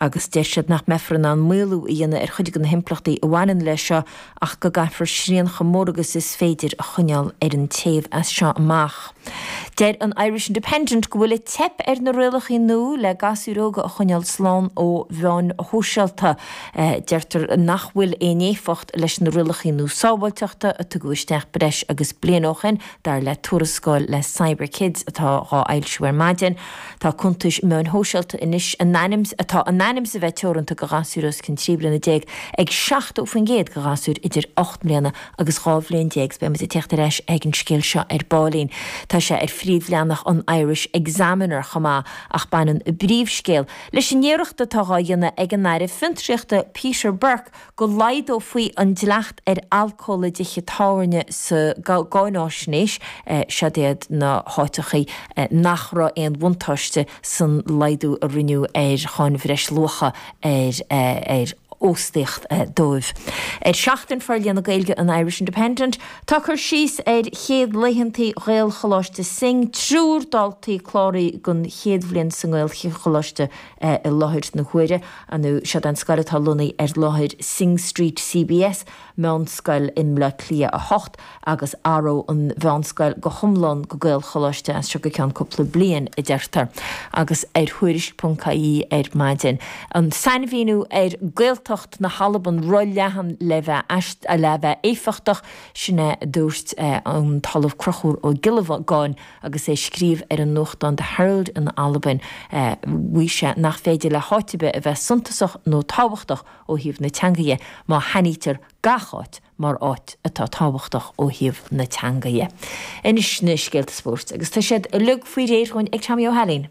Agus deir siad nach mbeifear in ann maolú a dhéanamh ar chuid de na himpleachtaí a bhaineann leis seo ach go gcaithfear srian chomh mór agus is féidir a choinneáil ar an téamh as seo amach. Deir an Irish Independent go bhfuil ag teip ar na rialacha nua le gasúir óga a choinneáil slán ó mheáin shóisialta. Deirtear nach bhfuil aon éifeacht leis na rialacha nua sábháilteachta a tugadh isteach breis agus bliain ó shin, dar le tuarascáil le Cyber Kids atá dhá fhoilsiú ar maidin. Tá cuntais meáin shóisialta anois in ainm atá in ainm is a bheith teoranta go ghasúir os cionn 13 bliana ag 70% go ghasúir idir 8 mbliana agus 12 bhliain. 's beidh muid ag teacht ar ais ag an scéal seo ar baillín. Tá sé ar phríomhleathanach an Irish Examiner chomh maith ach baineann a bpríomhscéal leis an iarracht atá dhá dhéanamh ag an Aire Fiontraíochta Peter Burke go laghdófaí an dleacht ar alcól i dtithe tábhairne sa gcáináisnéis, seod iad na háiteachaí nach raibh aon bhuntáiste san laghdú a rinneadh ar cháin bhreisluacha ar óstaíocht dóibh. Ar Seachtain Forlíonadh Gaeilge an Irish Independent, tá cur síos ar chéad laethantaí Ghaelcholáiste Synge, triúr daltaí cláraithe don chéad bhliain sa nGaelcholáiste i láthair na huaire. Nó seod an scoil atá lonnaithe ar láthair Synge Street CBS, meánscoil i mBleá Cliath 8, agus athróidh an mheánscoil go hiomlán go Gaelcholáiste as seo go ceann cúpla bliain, a deirtear. Agus ar Thuairisc.ie ar maidin, an sainmhíniú ar Gaeltacht na hAlban ro-leathan le bheith le bheith éifeachtach, sin é a dúirt an tOllamh Conchúr Ó Giollagáin Agus é ag scríobh ar an nuachtán The Herald in Albain, mhaígh sé nach féidir le háit ar bith a bheith suntasach nó tábhachtach ó thaobh na teanga dhe má shainítear gach áit mar áit atá tábhachtach ó thaobh na teanga dhe. Anois na scéalta spóirt, agus tá siad uilig faoi réir dhúinn ag Tommy Ó hAilín.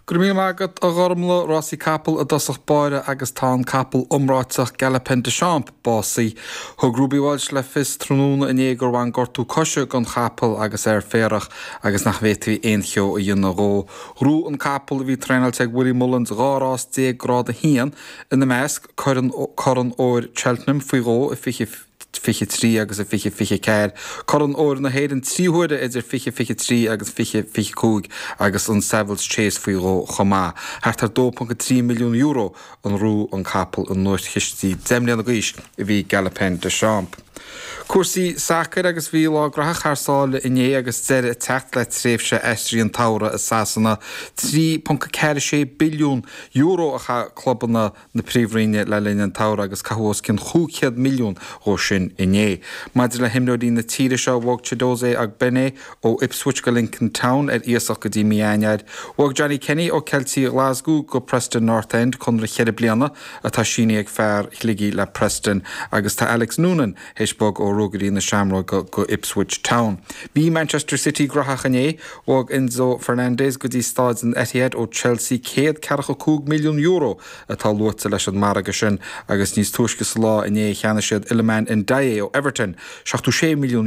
Go raibh míle maith agat, a Ghormlaith. Rásaí capall i dtosach báire agus tá an capall iomráiteach Galopin Des Champs básaithe. Thug Ruby Walsh le fios tráthnóna inné gur bhain gortú coise don chapall agus é ar féarach agus nach bhféadfaí aon cheo a dhéanamh dhó. Ghnóthaigh an capall, a bhí traenáilte ag Willie Mullins, 12 rás Grád 1, ina measc, Corn Óir Cheltenham faoi dhó i 20 23 agus i 2024, Corn Óir na hÉireann 3 huaire idir 2023 agus 2025 agus an Savills Chase faoi dhó chomh maith. Thart ar €2.3 milliún a ghnóthaigh an capall i nduaischistí. 10 mbliana d'aois a bhí Galopin Des Champs. Cúrsaí sacair agus bhí lá graitheach thar sáile inné agus deireadh ag teacht le tréimhse aistrithe an tsamhraidh i Sasana. €3.46 billiún a chaith clubanna na Príomhroinne le linn an tsamhraidh agus caitheadh os cionn 500 milliún dhó sin inné. Maidir le himreoirí na tíre seo, bhog Chiedozie Ogbene ó Ipswich go Lincoln Town ar iasacht go dtí mí Eanáir. Bhog Johnny Kenny ó Ceiltigh Ghlaschú go Preston North End, conradh cheithre bliana atá sínithe ag fear Shligigh le Preston agus tá Alex Noonan théis bogadh ó Ruagairí na Seamróige go Ipswich Town. Bhí Manchester City graitheach inné. Bhog Enzo Fernandez go dtí Stáid an Etihad ó Chelsea, €145 milliún atá luaite leis an margadh sin agus níos túisce sa lá inné cheannaigh siad Iliman Ndiaye ó Everton, €76 milliún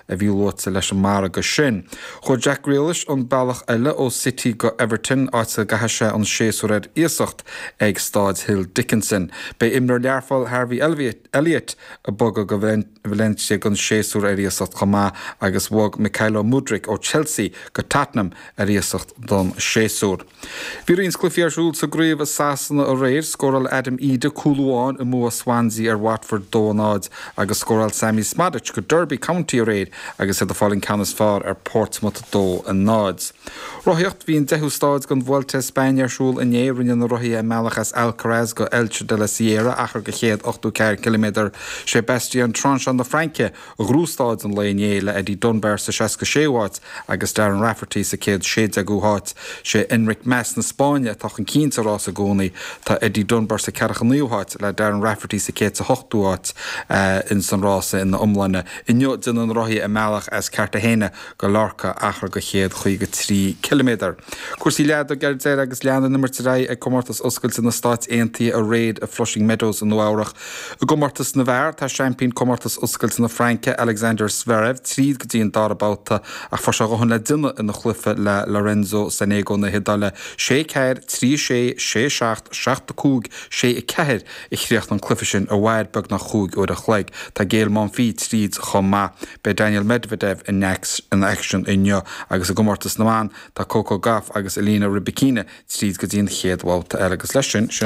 a bhí luaite leis an margadh sin. Chuaigh Jack Grealish an bealach eile ó City go Everton, áit a gcaithfidh sé an séasúr ar iasacht ag Stáid Hill Dickinson. Beidh imreoir Learphoill Harvey Elliott ag bogadh go Valencia don séasúr ar iasacht chomh maith agus bhog Mykhailo Mudryk ó Chelsea go Tottenham ar iasacht don séasúr. Bhí roinnt cluichí ar siúl sa gcraobh i Sasana aréir. Scóráil Adam Idah cúl amháin i mbua Swansea ar Watford 2-0 agus scóráil Sammy Szmodics go Derby County aréir agus iad ag fáil an ceann is fearr ar Portsmouth 2-0. Rothaíocht, Bhí an deichiú stáid den Vuelta a España ar siúl inné. Rinne na rothaithe a mbealach as Alcaraz go Elche de la Sierra, achar de 184 ciliméadar. Sé Bastien Tronchon na Fraince a ghnóthaigh stáid an lae inné le Eddie Dunbar sa 66ú háit agus Darren Rafferty sa 116ú háit. Sé Enric Mas na Spáinne atá chun cinn sa rás i gcónaí. Tá Eddie Dunbar sa 49ú háit le Darren Rafferty sa 108ú háit ins an rása ina iomláine. Inniu déanfaidh na rothaithe a mbealach as Cartagena go Lorca, achar de 153 ciliméadar. Cúrsaí leadóige ar deireadh agus lean an imirt ar aghaidh ag Comórtas Oscailte na Stáit Aontaithe aréir i Flushing Meadows i Nua-Eabhrac. I gcomórtas na bhfear, tá seaimpín Comórtas Oscailte na Fraince, Alexander Zverev, tríd go dtí an dara babhta ach fuair sé a dhóthain le déanamh ina chluiche le Lorenzo Sonego na hIodáile, 6 4, 3 6, 6 7, 7 5, 6 4 a chríochnaigh an cluiche sin a mhair beagnach chúig uair an chloig. Tá Gael Monfils tríd chomh maith. Beidh Daniil Medvedev in aicsean inniu agus i gcomórtas na mban tá Coco Gauff agus Elena Rybakina tríd go dtí an chéad bhabhta eile agus leis sin, sin.